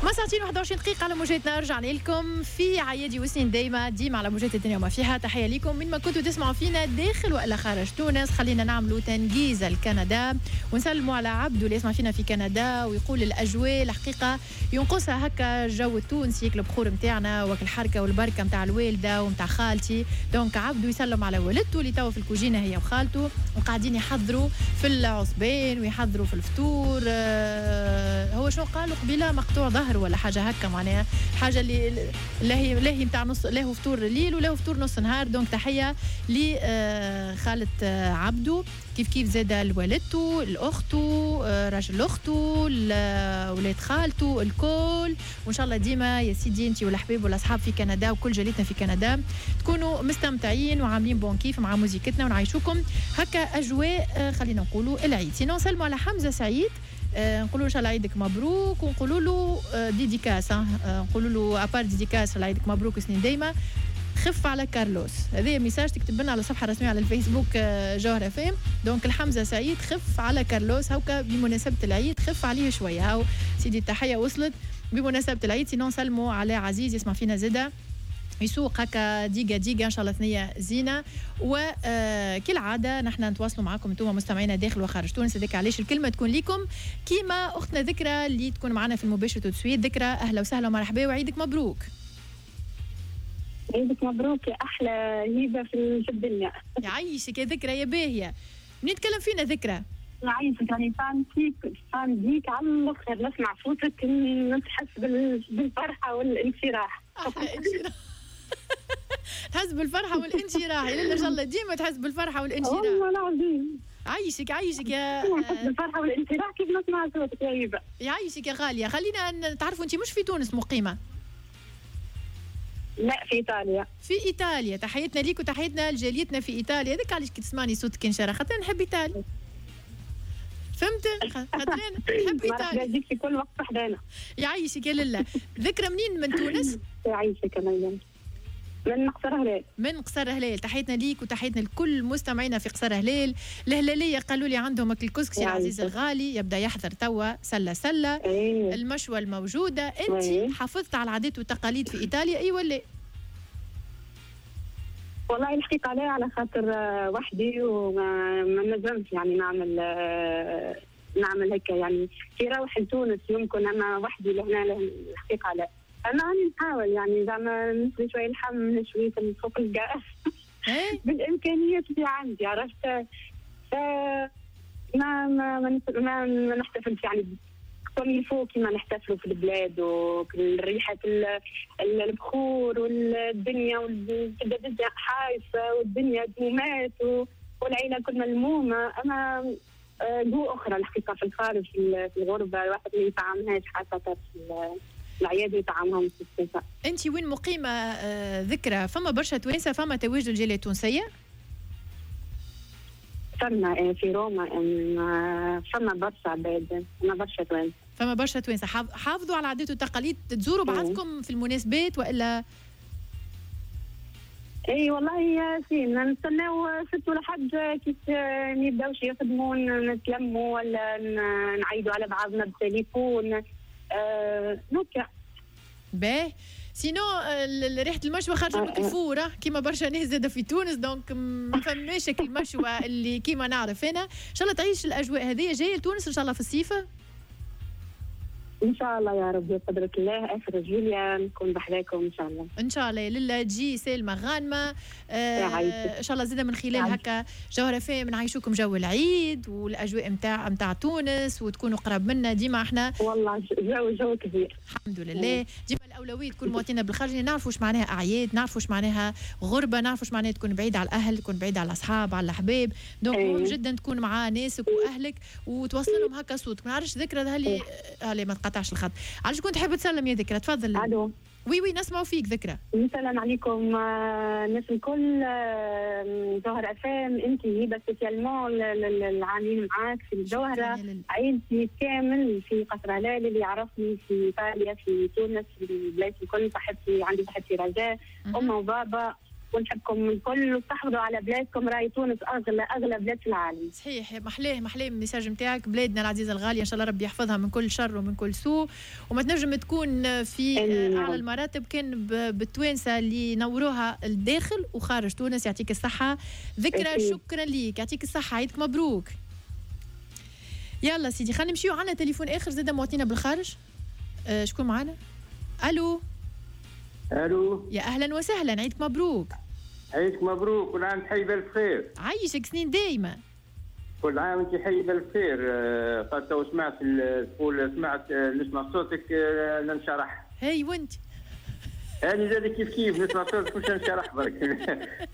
ما ساعتين 21 دقيقة على موجاتنا، رجعنا لكم في عيادي وسنين دايما ديما على موجات الدنيا وما فيها. تحية لكم من ما كنتوا تسمعوا فينا داخل وإلا خارج تونس. خلينا نعملوا تنجيزة لكندا ونسلموا على عبدو اللي يسمع فينا في كندا ويقول الأجواء الحقيقة ينقصها هكا الجو التونسي، البخور نتاعنا وك الحركة والبركة نتاع الوالدة ونتاع خالتي. donc عبدو يسلم على والدته اللي توا في الكوجينة هي وخالته وقاعدين يحضروا في العصبان ويحضروا في الفطور. هو شنو قالوا قبيلة؟ مقطوع ظهر ولا حاجة هكا، معناها حاجة اللي لا هي نتاع نص، لا هو فطور الليل ولا هو فطور نص نهار. donc تحية لخالة عبدو، كيف كيف زاد لوالدته، لاخته، راجل اخته، ولاد خالته الكل. وان شاء الله ديما يا سيدي انت والحبيب والاصحاب في كندا وكل جاليتنا في كندا تكونوا مستمتعين وعاملين bon كيف مع موزيكتنا ونعيشوكم هكا اجواء خلينا نقولوا العيد. sinon سلموا على حمزة سعيد، نقولوا ان شاء الله عيدك مبروك، ونقولوا له dédicace، نقولوا له à part dédicace عيدك مبروك سنين دايما، خف على كارلوس. هذا message تكتب لنا على الصفحة الرسمية على الفيسبوك جوهرة FM. donc الحمزة سعيد خف على كارلوس هوكا بمناسبة العيد، خف عليه شوية. هاو سيدي التحية وصلت بمناسبة العيد. sinon سلموا على عزيز يسمع فينا زاده يسوق هكا ديقة ديقة، إن شاء الله ثنية زينة. وكالعادة نحن نتواصلوا معكم انتم مستمعينا داخل وخارج تونس، هذاك علاش الكلمة تكون لكم كيما أختنا ذكرى اللي تكون معنا في المباشر tout de suite. ذكرى أهلا وسهلا ومرحبا وعيدك مبروك. عيدك مبروك يا أحلى هبة في الدنيا. يعيشك يا ذكرى يا باهية. منين تكلم فينا ذكرى؟ يعيشك، يعني fan فيك، fan بيك على الآخر، نسمع صوتك نحس بالفرحة والانشراح. أحلى انشراح. تحس بالفرحة والانشراح يا إن شاء الله ديما تحس بالفرحة والانشراح. والله العظيم. عايشك عايشك يا تحس بالفرحة والانشراح كيف نسمع صوتك يا هبة. يعيشك يا غالية. خلينا نتعرفوا، أنت مش في تونس مقيمة؟ لا، في إيطاليا. في إيطاليا، تحياتنا ليك وتحياتنا لجاليتنا في إيطاليا. هذاك علاش كي تسمعني صوتك انشراح، خاطر نحب إيطاليا. فهمت؟ خاطر نحب إيطاليا. مرحبا بك في كل وقت حدانا. يعيشك يا لله. ذكرى منين من تونس؟ يعيشك يا مريم. من قصر هلال. من قصر هلال، تحياتنا ليك وتحياتنا لكل مستمعينا في قصر هلال. الهلالية قالوا لي عندهم الكسكسي العزيز الغالي يبدا يحضر توا سله سله. أيه. المشوى الموجودة. انت أيه. حافظت على العادات والتقاليد في ايطاليا اي ولا؟ والله الحقيقة لا، على خاطر وحدي وما نجمش يعني نعمل هكا، يعني كي روح لتونس يمكن، اما وحدي لهنا الحقيقة لا. أنا نحاول يعني زعما نشوي شوية لحم، نشوي فوق الغاز بالإمكانيات اللي عندي، عرفت؟ ما ما ما ما, ما نحتفلش يعني comme il faut كيما نحتفلوا في البلاد، والريحة البخور والدنيا والدنيا حايسة والدنيا دومات والعيلة كل ملمومة. أما جو أخرى الحقيقة في الخارج، في الغربة الواحد ما يطعمهاش، خاصة في العياد يطعمهم في الصيف. انت وين مقيمة ذكرى؟ فما برشا توانسة، فما تواجد الجالية التونسية؟ فما في روما، فما برشا عباد، فما برشا توانسة. فما برشا توانسة. حافظوا على العادات والتقاليد، تزوروا بعضكم في المناسبات والا؟ اي والله يا سين نستناو ست ولا حد كيف يبداوش يخدموا نتلموا ولا نعيدوا على بعضنا بالتليفون. نوكا باهي. sinon ريحه المشوى خارجه من ال four كيما برشا ناس زاده في تونس، donc ما فماش المشوى اللي كيما نعرف انا. ان شاء الله تعيش الاجواء هذه. جاية لتونس ان شاء الله في الصيف؟ ان شاء الله يا رب بقدرة الله، اخر جويليا نكون بحذاكم ان شاء الله. ان شاء الله يا لله تجي سالمه غانمه. ان شاء الله زاده من خلال هكا جوهرة FM نعيشوكم جو العيد والاجواء نتاع تونس وتكونوا قراب منا ديما. احنا والله جو كبير الحمد لله. ديما الاولوية تكون مواطنينا بالخارج، نعرفوا واش معناها اعياد، نعرفوا واش معناها غربه، نعرفوا واش معناها تكون بعيد على الاهل، تكون بعيد على الاصحاب، على الاحباب. donc مهم جدا تكون مع ناسك واهلك وتوصل لهم هكا صوتك. ما نعرفش ذكرى هالي ما تقطعش الخط. علاش كنت تحب تسلم يا ذكرى؟ تفضل. الو oui oui نسمعوا فيك ذكرى. نسلم عليكم الناس الكل، جوهرة FM، انت هبه spécialement العاملين معاك في الجوهرة، عائلتي كامل في قصر هلال، اللي يعرفني في ايطاليا، في تونس، في البلايص الكل، صاحبتي عندي صاحبتي رجاء، امه وبابا ونحبكم الكل، وتحافظوا على بلادكم، راي تونس اغلى اغلى بلاد في العالم. صحيح، محلاه محلاه ال message نتاعك. بلادنا العزيزة الغالية ان شاء الله ربي يحفظها من كل شر ومن كل سوء، وما تنجم تكون في اعلى المراتب كان بالتوانسه اللي نوروها الداخل وخارج تونس. يعطيك الصحة ذكرى، شكرا ليك، يعطيك الصحه، عيدك مبروك. يلا سيدي خلينا نمشيو، عندنا تليفون اخر زاد مواطنينا بالخارج. شكون معنا؟ الو. الو، يا اهلا وسهلا، عيدك مبروك. عيدك مبروك، كل عام حي بالف خير. عايشك سنين دايمه. كل عام انت حي بالف خير. قد تو سمعت تقول سمعت نسمع صوتك ننشرح. هاي وانت؟ انا زاد كيف كيف نسمع صوتك مش ننشرح برك.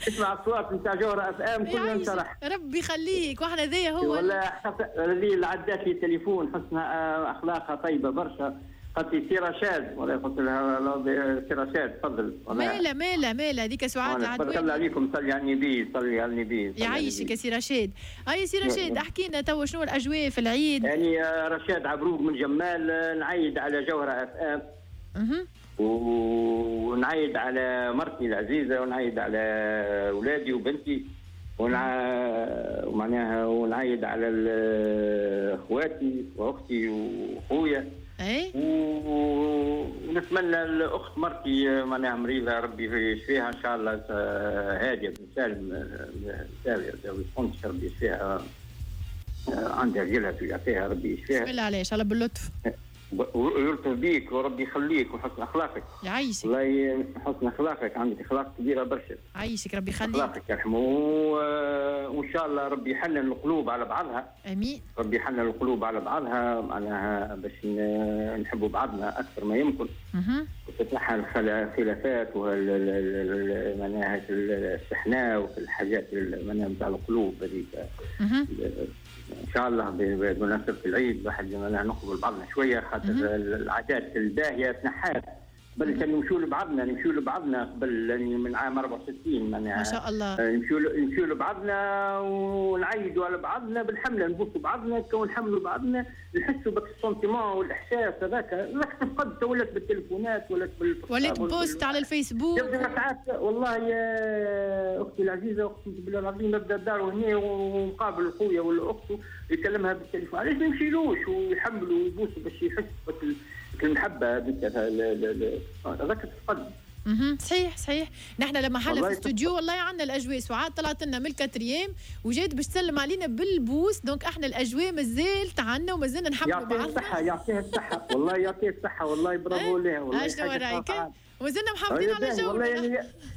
نسمع الصوت نتاع جوهرة اف ام كلنا ننشرح. ربي يخليك، واحنا ذي هو والله اللي عدات لي التليفون حسنها اخلاقها طيبة برشا. قالت لي سي رشاد، ولا قلت لها سي رشاد تفضل. مالا مالا مالا هذيك سعاد العدواني. بارك الله عليكم، صلي على النبي، صلي على النبي. يعيشك يا سي رشاد. اي سي رشاد احكي لنا توا شنو الاجواء في العيد؟ يعني رشاد عبروق من جمال، نعيد على جوهرة اف ام ونعيد على مرتي العزيزة، ونعيد على اولادي وبنتي، ومعناها ونعيد على اخواتي واختي وخويا. اي ونتمنى الاخت مرتي معناها مريضه ربي يشفيها ان شاء الله، هادية بن سالم ربي يشفيها، عندها رجلها يعطيها ربي يشفيها. بسم الله عليه، ان شاء الله باللطف. ويلطف بيك وربي يخليك وحسن اخلاقك. يعيشك. والله حسن اخلاقك، عندك اخلاق كبيرة برشا. يعيشك ربي يخليك. اخلاقك يرحمه، وان شاء الله ربي يحنن القلوب على بعضها. امين. ربي يحنن القلوب على بعضها، معناها باش نحبوا بعضنا اكثر ما يمكن. وتتنحى الخلافات معناها الشحناء والحاجات معناها نتاع القلوب هذيك. ان شاء الله بمناسبة العيد الواحد نقبل بعضنا شوية، خاطر العادات الباهيه تنحات. قبل كان نمشوا لبعضنا، نمشوا لبعضنا قبل من عام 64 معناها. ما شاء الله. نمشوا لبعضنا ونعيدوا على بعضنا بالحمله، نبوسوا بعضنا ونحملوا بعضنا، نحسوا بك ال sentiment والاحساس هذاك. هذاك تفقد، ولات بالتليفونات، ولات ولات post على الفيسبوك. ساعات والله يا اختي العزيزة اقسم بالله العظيم نبدا الدار وهنا ومقابل خويا ولا اخته يكلمها بالتليفون، علاش ما يمشيلوش ويحملوا ويبوسوا باش يحس المحبة هذيك هذاك تفقد. صحيح صحيح. نحن لما حنا في الاستوديو والله عندنا الاجواء، سعاد طلعت لنا من ال quatrième وجات باش تسلم علينا بالبوس، donc احنا الاجواء مازالت عندنا ومازلنا نحملوا بعضنا. يعطيها الصحة، يعطيها الصحة والله، يعطيها الصحة والله، برافو لها والله. شنو رايك؟ ومازلنا محافظين على جونا. والله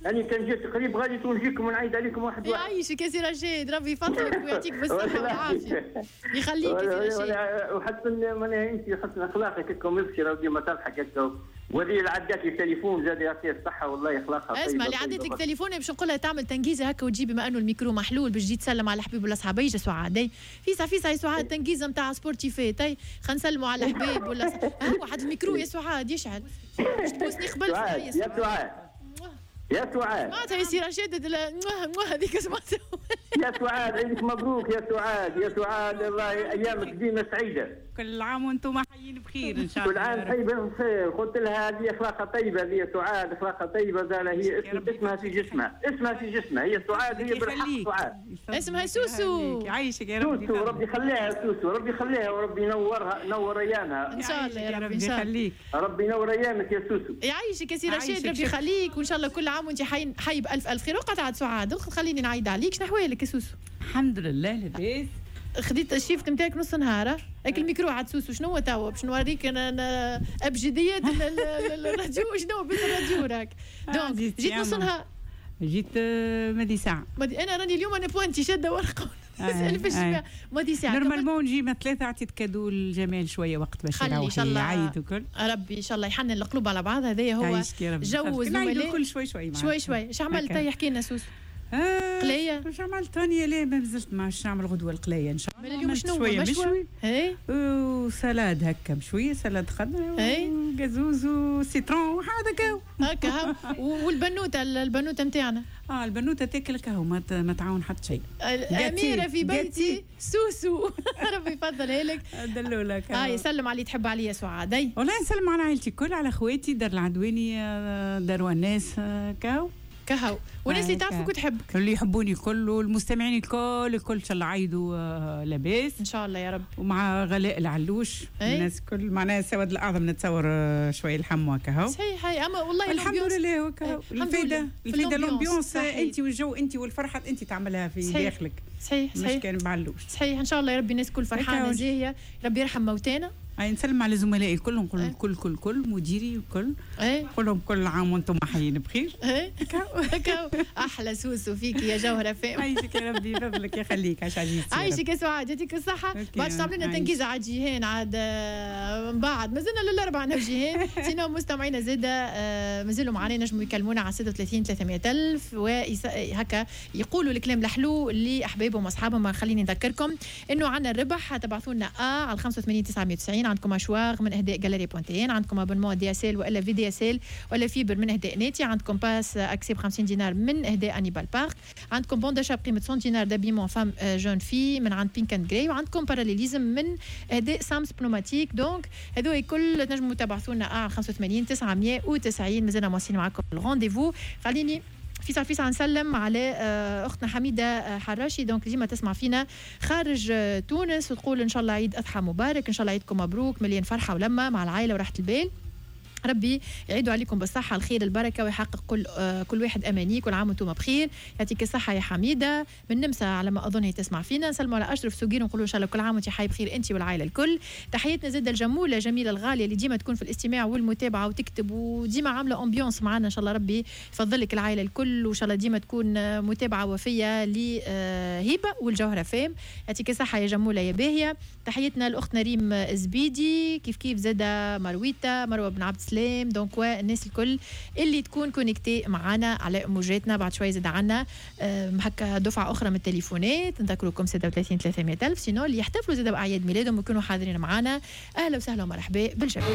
يعني كان جيت قريب غادي تونجيكم ونعيد عليكم واحد واحد. يعيشك يا سي رشيد، ربي يفضلك ويعطيك بالصحة والعافية. يخليك يا سي رشيد. وحتى معناها انت حسن اخلاقك هكا مبشرة وديما تضحك هكا، وهذه اللي عدات لي التليفون زاد يعطيها الصحة والله اخلاقها طيبة. اسمع اللي عدت لك التليفون باش نقول لها تعمل تنجيزه هكا وتجي، بما انه الميكرو محلول باش تجي تسلم على الحبيب ولا صحابي. يا سعاد فيسع فيسع يا سعاد، تنجيزه نتاع sportif، تي خلينا نسلموا على الحبيب ولا واحد الميكرو يا سعاد يشعل باش تبوسني قبل. يا سعاد يا سعاد سمعتها يا سي رشيد هذيك سمعتها. يا سعاد عيدك مبروك يا سعاد، يا سعاد الله ايامك ديما سعيدة. كل عام وانتم حيين بخير ان شاء الله. كل عام حي بخير. قلت لها هذه اخلاقها طيبة، هذه سعاد اخلاقها طيبة، زال هي اسمها في جسمها، اسمها في جسمها، هي سعاد، هي بالحق سعاد. اسمها سوسو. يعيشك يا ربي. سوسو ربي يخليها سوسو، ربي يخليها وربي ينورها، نور ايامها ان شاء الله يا ربي. يخليك ربي ينور ايامك يا سوسو. يعيشك يا سي رشيد، ربي يخليك وان شاء الله كل عام وانت حي بالف الف خير. وقعد عاد سعاد خليني نعيد عليك. شنو احوالك يا سوسو؟ الحمد لله لاباس. خديت ال shift نتاعك نص نهار، هاك الميكرو عاد سوسو شنو هو توا باش نوريك انا ابجديات الراديو، شنو بيت الراديو راك. donc جيت نص نهار، جيت ماضي ساعة. انا راني اليوم انا pointée شاده ورقة نسال في الشباب ماضي ساعة. normalement نجي من 3، عطيت cadeau لجمال شوية وقت باش يروح يعيد وكل. ربي ان شاء الله يحنن القلوب على بعض. هذايا هو جو الزملاء كل شوي شوي شوي شوي. اش عملت؟ يحكي لنا سوسو. قليه واش عملت ثانية؟ لا ما مازلت ما نعمل غدوه القليه ان شاء الله. اليوم شنو مشوي؟ اي و salade هكا مشوية، salade خضراء وقازوز و citron وهذا كاو هكا. والبنوته، البنوته نتاعنا البنوته تاكل كهو، ما تعاون حتى شيء. اميره في بيتي سوسو. ربي يفضلها لك دلولك. يسلم علي تحب عليا سعاد. والله نسلم على عائلتي الكل، على خواتي دار العدواني، دار وناس كاو. كهو، والناس اللي تعرفك وتحبك، اللي يحبوني الكل، والمستمعين الكل الكل، ان شاء الله عيدوا لاباس. ان شاء الله يا رب. ومع غلاء العلوش الناس كل معناها السواد الاعظم نتصور شوية لحم وكهو. صحيح، اما والله الحمد لله وكهو. الفايدة الفايدة l'ambiance انت والجو انت والفرحه انت تعملها في داخلك. صحيح صحيح، مش كان بعلوش. صحيح، ان شاء الله يا ربي الناس كل فرحانة زاهيه، ربي يرحم موتانا. اي نسلم على زملائي الكل، نقول الكل كل كل مديري الكل، نقول لهم كل عام وانتم حيين بخير. احلى سوسو فيك يا جوهره فام. عايشك يا ربي، فضلك يخليك، عايش عزيزتي. عايشك يا سعاد، يعطيك الصحة. بعد تعمل لنا تنقيزه عاد جيهان، عاد من بعد مازلنا للاربعه انا وجيهان. sinon مستمعينا زاده مازالوا معنا، نجموا يكلمونا على 36 300 ألف وهكا يقولوا الكلام الحلو لاحبابهم واصحابهم. خليني نذكركم انه عندنا الربح، تبعثوا لنا على 85 990، عندكم hachoir من اهداء Galerie point tn، عندكم abonnement DSL والا VDSL ولا fibre من اهداء ناتي، عندكم pass accès ب 50 دينار من اهداء Hannibal Park، عندكم bon d'achat بقيمة 100 دينار d'habillement femme jeune fille من عند Pink and Grey، وعندكم parallélisme من اهداء Sam's Pneumatique. donc هذو الكل تنجموا تبعثوا لنا على 85 990. مازلنا مواصلين معكم ال rendez-vous. خليني فيسع فيسع نسلم على اختنا حميده حراشي، donc ديما تسمع فينا خارج تونس وتقول ان شاء الله عيد اضحى مبارك، ان شاء الله عيدكم مبروك مليان فرحه ولمه مع العائلة وراحة البال، ربي يعيدوا عليكم بالصحة الخير البركة ويحقق كل واحد أماني، كل عام وانتم بخير. يعطيك الصحة يا حميدة من نمسا على ما أظن هي تسمع فينا. نسلموا على أشرف سوقير ونقولوا إن شاء الله كل عام وانت حي بخير أنت والعائلة الكل. تحياتنا زاد الجمولة جميلة الغالية اللي ديما تكون في الاستماع والمتابعة وتكتب وديما عاملة ambiance معنا، إن شاء الله ربي يفضل لك العائلة الكل، وإن شاء الله ديما تكون متابعة وفية لهبة والجوهرة فام. يعطيك الصحة يا جمولة يا باهية. تحياتنا لأختنا ريم زبيدي، كيف كيف زادة مرويتا مروة بن عبد السلام، donc والناس الكل اللي تكون connectée معنا على موجاتنا. بعد شوي زاد عنا هكا دفعه اخرى من التليفونات، نذكركم 36 300 الف. sinon اللي يحتفلوا زاد باعياد ميلادهم ويكونوا حاضرين معنا، اهلا وسهلا ومرحبا بالجميع.